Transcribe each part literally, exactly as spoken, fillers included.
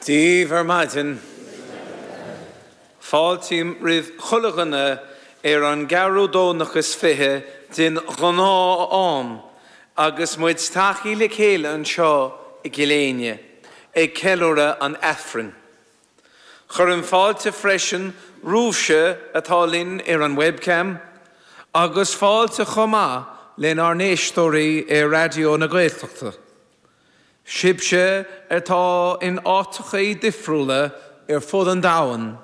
Dia daoibh ar maidin. Fáiltím roimh chuile dhuine ar an gceathrú Domhnach is fiche den ghnáth-am agus muid tagtha le chéile anseo i gCill Éinne, ag ceiliúradh an Aifrinn. Cuirim fáilte freisin romhaibhse atá linn ar an webcam, agus fáilte chomh maith lenár n-éisteoirí ar Raidió na Gaeltachta. Sibhse atá in áiteachaí difriúla ar fud an domhain,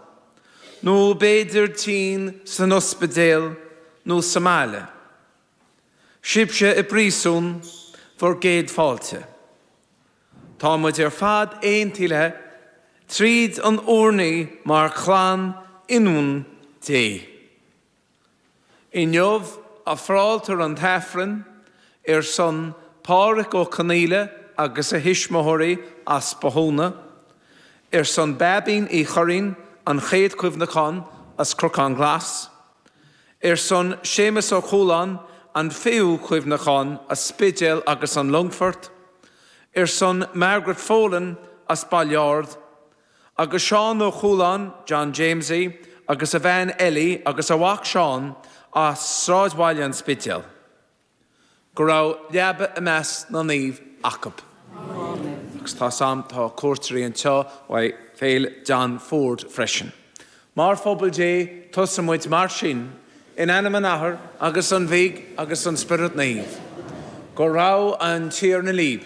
nó b'fhéidir tinn san ospidéal nó sa mbaile. Sibhse i bpríosún bhur gcéad fáilte. Tá muid ar fad aontaithe tríd an urnaí mar chlann ionúin Dé. Inniu ofráiltear an tAifreann ar son Pádraig Ó Conaola agus a thuismitheoirí as Bothúna, ar son Bheaibín Uí Churraoin an chéad chuimhneachán as Cnocán Glas, ar son Séamus Ó Cualáin an fichiú cuimhneachán as Spidéal agus an Longfort, ar son Margaret Folan as Baile Ard, agus Seán Ó Cualáin, John Jamesie, agus a bhean Ellie agus a mhac Seán as Sráidbhaile an Spidéal. Go raibh leaba i measc na naomh acu. Agus tá sam tá cuairteoirí anseo uaidh Féile John Ford freisin. Mar phobal Dé tosaímid mar sin in ainm an Athar agus an Mhic agus an Spiorad Naomh. Go raibh an Tiarna libh.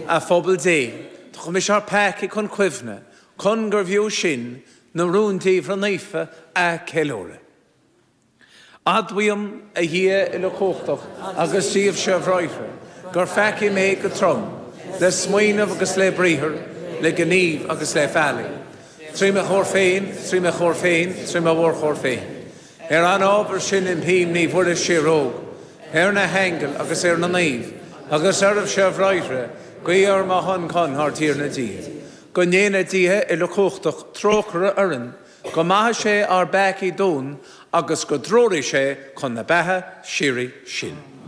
A phobal Dé, Tugaimid ár bpeacaí chun cuimhne, chun gurbh fhiú sinn na rúndiamhra naofa a cheiliúradh. Admhaím a Dhia uilechumhachtach agus daoibhse a bhráithre, gur pheacaigh mé go trom, le smaoineamh agus le briathar, le gníomh agus le faillí. Trí mo chóir féin, trí mo chóir féin, trí mo mhórchóir féin. Ar an ábhar sin impím Naomh Muire Síoróg, ar na haingil agus ar na naoimh, agus oraibhse a bhráithre, guí ar mo shon chun ár dTiarna Dia. Go ndéana Dia uilechumhachtach trócaire orainn, go maithe sé ár bpeacaí dúinn agus go dtreoraí sé chun na beatha síoraí sinn.